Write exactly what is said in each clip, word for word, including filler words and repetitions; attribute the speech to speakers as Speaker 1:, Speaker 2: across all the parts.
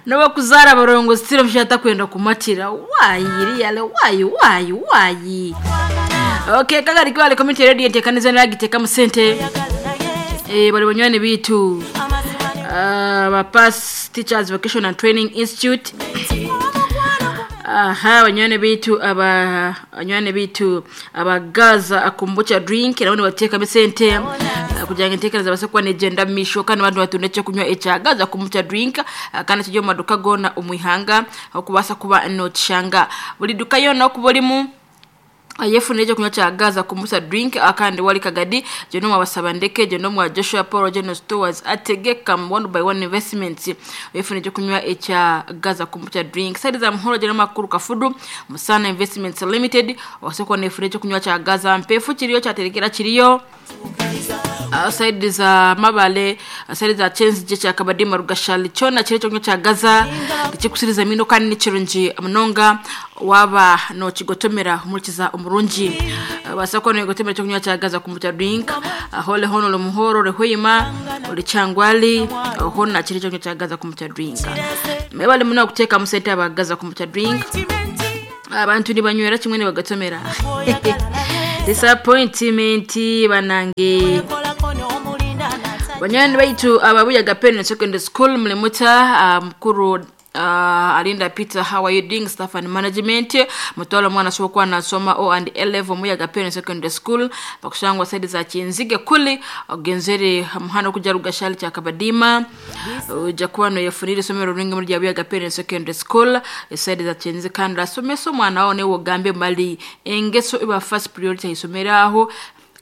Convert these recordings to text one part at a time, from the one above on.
Speaker 1: N'obakuzaara abarongo sitira omushaija atakwenda kumatira. Why really? Why, why, why? Okay, Kagari Kwale Community Radio enteekaniza nagiteekamu sente. Eh, bali banywani biitu uh, ba Pass Teachers Vocation and Training Institute. Aha, banywani biitu aba banywani biitu aba Gaza Kombucha Drink nabo nibateekamu sente uh, kugira ngu enteekaniza baase kuba negyenda omu maisho, kandi abantu batunda ekyokunywa ekya Gaza Kombucha Drink, uh, kandi kiri omu maduuka goona omu ihanga okubaasa kuba nookishanga buri duka yoona okuba orimu yefunire ekyokunywa kya Gaza Kombucha Drink. Kandi wali Kagadi gye nomwa Basabandeke, gye nomwa Joshua Paul General Stores, Ategeka One by One Investments, yefunire ekyokunywa ekya Gaza Kombucha Drink. Side za Muhoro, gye nomakuru Kafudu Musana Investments Limited, obase kuba nefunire ekyokunywa kya Gaza. Mpefu kiriyo, kyaterekera kiriyo. uh, side za Mabale, uh, side za Kyenzigye, kya Kabadima, Rugashali, kyona kiri ekyokunywa kya Gaza tikikusiriza mino kandi nikirungi munonga waba nokigotomera omurikiza omurungi. uh, basa kuba nogotomera ekyokunywa kya Gaza Kombucha Drink. uh, hole hono ori Muhoro, ori Hoima, ori Kyangwali, uh, hona kiri ekyokunywa kya Gaza Kombucha Drink. Mwebale muno okuteekamu sente aba Gaza Kombucha Drink. Abantu nibanywera kimwe nibagatomera. Disappointment banange. Banywani baitu ababuyaga Pen Secondary School, mulimuta? uh, mukuru uh, Alinda Peter, how are you doing? Staff and management, mutwala omwana asobola okuba nasoma O and A level Muyaga Pen Secondary School, bakushangwa side za Kyenzige kuli ogenzere muhanda okuja Rugashali kya Kabadima, ojja kuba noyefunira isomero ringi muri rya Buyaga Pen Secondary School, eside za Kyenzige. Kandi asomesa omwana wawe newe ogambe mali engeso iba first priority aisomero aho,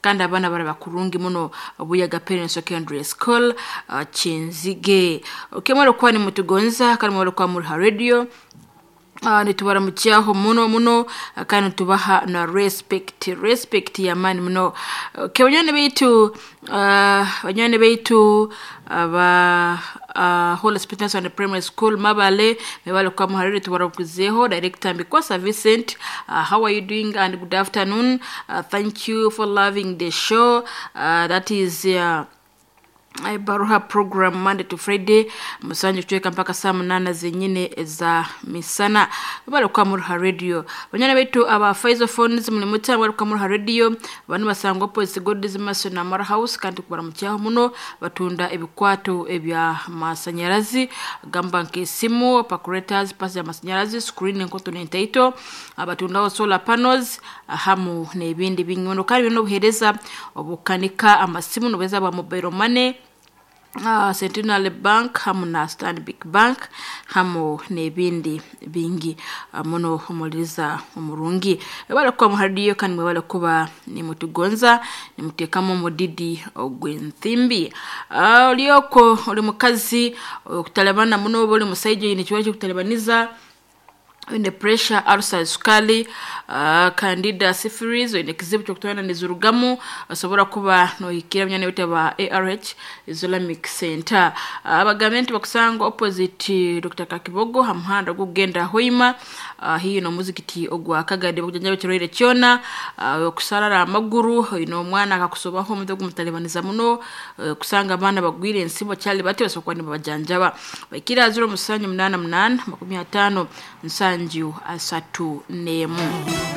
Speaker 1: kandi abaana baraba kurungi muno. Buyaga Parents Secondary School, uh, Kyenzige. Okay, mwari kuba nimutugonza kandi mwari kuba muri ha radio, uh, nitubaramukyaho muno muno, uh, kandi tubaha na respect, respect yamaani muno. Okay, banywani baitu, uh, banywani baitu aba uh, Holy Spirit and Primary School Mabale, mebale kwa muhariri, tubarakuzeho. Director Mbikwasa Vincent, uh, how are you doing and good afternoon. uh, thank you for loving the show. uh, that is uh, Baruha program Monday to Friday musanje kuchweka mpaka saa munana zenyine za misana. Bale kwa muruha radio. Banyana betu aba Pfizer phones, mulimuta? Bale kwa muruha radio. Banu basangwa opposite God's Mason na Mara House, kandi kubaramucyaho muno. Batunda ebikwato ebya masanyarazi, gamba nk'esimu, calculators, pasi ya masanyarazi, screen enkoto n'entaito. Abatundaho solar panels hamu n'ebindi bingi muno, kandi bino obuhereza obukanika amasimu n'obuhereza bwa mobile money, uh, Centenary Bank hamu na Stanbic Bank hamu n'ebindi bingi uh, muno. Omuliriza omurungi, webale kuba muhadiyo kandi mwebale kuba nimutugonza nimuteekamu omudidi ogw'enthimbi. uh, olioko oli mukazi okutalabana muno oba oli musaija oine ekibazo ky'okutalabaniza, oine pressure, ulcer, sukali, uh, candida, syphilis, oine ekizibu kyokutwana nizirugamu, osobola kuba nohikira munyanya wetu aba A R H Islamic Center. Abagambe nti bakusanga opposite Doctor Kakibogo ha muhanda ogugenda Hoima, uh, hiyo n'omuzikiti ogwa Kagadi. Bakujanjaba ekirwaire kyona, uh, okusarara amaguru, oine omwana akakusobaho omutwe gumutalibaniza muno, uh, kusanga abaana bagwire ensibo kyali bati, basobola kuba nibabajanjaba. Baikira zero musanju munaana munaana makumi ataano nsanju asatu n'emu.